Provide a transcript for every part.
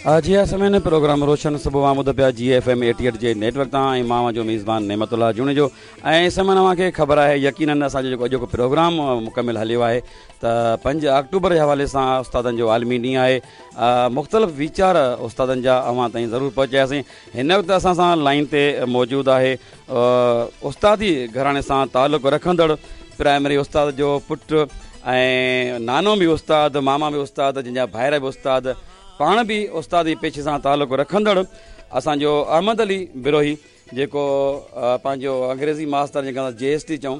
جي ها سامعين پروگرام روشن صبح اوهان ٻڌو پيا جي ايف ايم 88 جي نيٽ ورڪ تان ۽ مان اوهان جو ميزبان نعمت الله جوڻيجو ۽ سامعين اوهان کي خبر آهي يقينن اسان جو جيڪو اڄوڪو پروگرام مڪمل هليو آهي ته 5 آڪٽوبر جي حوالي سان استادن جو عالمي ڏينهن آهي مختلف ويچار استادن جا اوهان تائين ضرور پهچاياسين هن وقت اسان سان لائين تي موجود آهي استادي گهراڻي سان تعلق رکندڙ پرائمري استاد جو پٽ ۽ نانو به استاد ماما به استاد جن جا ڀائر به استاد پاڻ به استادي پيشي سان تعلق رکندڙ اسان جو احمد علي بروهي جيڪو پنهنجو انگريزي ماستر جنهن کي اسان جي ايس ٽي چئون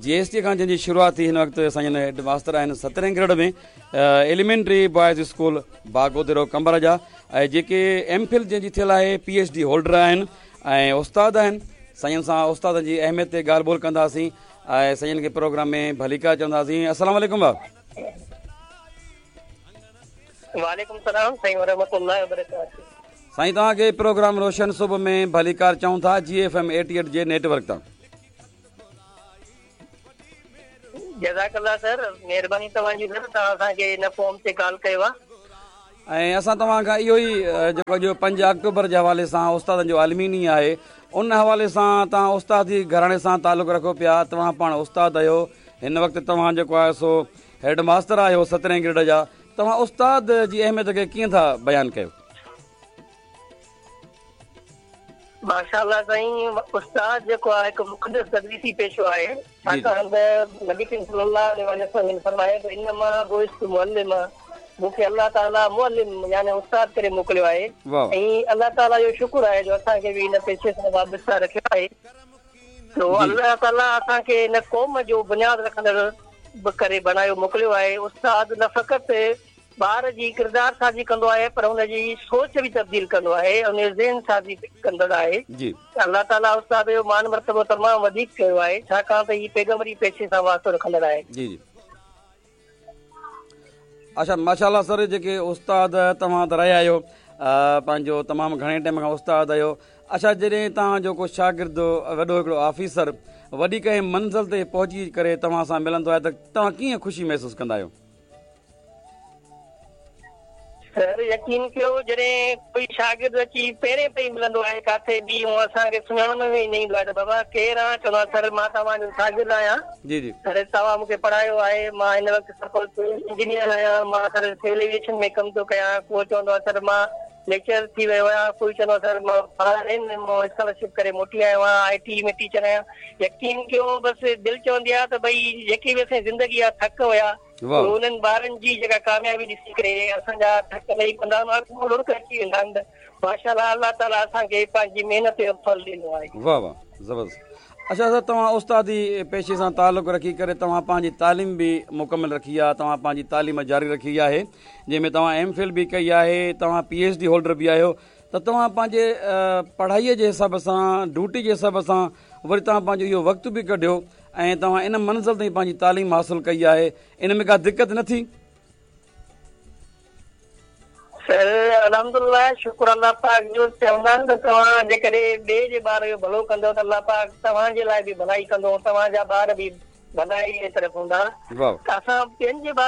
جي ايس ٽي کان جنهن جي شروعات ٿي هن وقت اسان جن هيڊ ماستر آهن سترهين grade ۾ elementary boys school Bagodero Qambar جا ۽ جيڪي ايم فل جنهن جي ٿيل آهي پي ايڇ ڊي هولڊر آهن ۽ استاد آهن سائين سان استادن جي اهميت تي ڳالهه ٻولهه ڪنداسين ۽ سائين کي پروگرام ۾ ڀليڪار چونداسين السلام عليڪم بابا. وعليڪم السلام سائين ورحمة الله وبرڪاته. سائين توهان کي پروگرام روشن صبح ۾ ڀليڪار چئون ٿا جي ايف ايم 88 جي نيٽ ورڪ تان. جزاڪ الله سر مهرباني توهان جي سر توهان اسان کي هن فورم تي ڪال ڪيو آ. ۽ اسان توهان کان اهو ئي جيڪو اڄ 5 آڪٽوبر جي حوالي سان استادن جو عالمي ڏينهن آهي ان حوالي سان توهان استادي گهراڻي سان تعلق رکو پيا توهان پاڻ استاد آهيو هن وقت توهان جيڪو آهي سو هيڊ ماستر آهيو سترهين گريڊ جا توهان استاد جي اهميت کي ڪيئن ٿا بيان ڪيو؟ ماشاء الله سائين استاد جيڪو آهي هڪ مقدس تدريسي پيشو آهي ڇاڪاڻ ته نبي ڪريم صلي الله عليه وآله وسلم جن فرمايو ته انما بعثت معلما مون کي الله تعالي معلم يعني استاد ڪري موڪليو آهي ۽ الله تعالي جو شڪر آهي جو اسان کي به هن پيشي سان وابسته رکيو آهي تو الله تعالي اسان کي هن قوم جو بنياد رکندڙ به ڪري بڻايو موڪليو آهي استاد نه فقط ٻار جي ڪردار سازي ڪندو آهي پر ان جي سوچ به تبديل ڪندو آهي ان جو ذهن سازي ڪندڙ آهي جي. ته الله تعاليٰ استاد جو مان مرتبو تمام وڌيڪ ڪيو آهي ڇاڪاڻ ته هي پيغمبري پيشي سان واسطو رکندڙ آهي. جي جي اڇا ماشاء الله سر جيڪي استاد توهان ته رهيا آهيو پنهنجو تمام گهڻي ٽائيم کان استاد آهيو اڇا جڏهن توهان جو ڪو شاگرد وڏو هڪڙو آفيسر وڏي ڪنهن منزل تي پهچي ڪري توهان سان ملندو آهي ته توهان ڪيئن خوشي محسوس ڪندا آهيو؟ سر يقين ڪيو جڏهن ڪوئي شاگرد اچي پيرين پئي ملندو آهي ڪاٿي به هونء اسان کي سڃاڻڻ ۾ ئي نه ايندو آهي ته بابا ڪير آن چوندو آهي سر مان توهان جو شاگرد آهيان جي جي سر توهان مون کي پڙهايو آهي مان هن وقت سپوز انجنيئر آهيان مان سر سول ايويئيشن ۾ ڪم ٿو ڪيان ڪو چوندو آهي سر مان ليڪچرر ٿي ويو آهيان ڪوئي چوندو آهي سر مان فارين مان اسڪالرشپ ڪري موٽي آيو آهيان آء ٽي ۾ ٽيچر آهيان يقين ڪيو بس دل چوندي آهي ته ڀئي جيڪي به اسان جي زندگي جا ٿڪ هيا انهن ٻارن جي جيڪا ڪاميابي ڏسي ڪري اسان جا ٿڪ لهي پوندا آهن اکين مان لڙڪ اچي ويندا آهن ته ماشاء الله الله تعالي اسان کي پنهنجي محنت جو ڦل ڏنو آهي. واه واه زبردست اڇا سر توهان استادي پيشي سان تعلق رکي ڪري توهان پنهنجي تعليم به مڪمل رکي آهي توهان پنهنجي تعليم جاري رکي آهي جنهن ۾ توهان ايم فل به ڪئي آهي توهان پي ايڇ ڊي هولڊر به آهيو ته توهان پنهنجي پڙهائي جي حساب سان ڊيوٽي جي حساب سان وري توهان پنهنجو اهو وقت به ڪڍيو ۽ توهان ان منزل تائين پنهنجي تعليم حاصل ڪئي آهي ان ۾ ڪا دقت نه ٿي؟ سر الحمدلله شڪر الله پاڪ جو چوندا آهن ته توهان جيڪڏهن ٻئي جي ٻار جو ڀلو ڪندؤ ته الله پاڪ توهان جي لاء به ڀلائي ڪندو ۽ توهان جا ٻار به ڀلائي جي طرف هوندا ته اسان ٻين جي ٻارن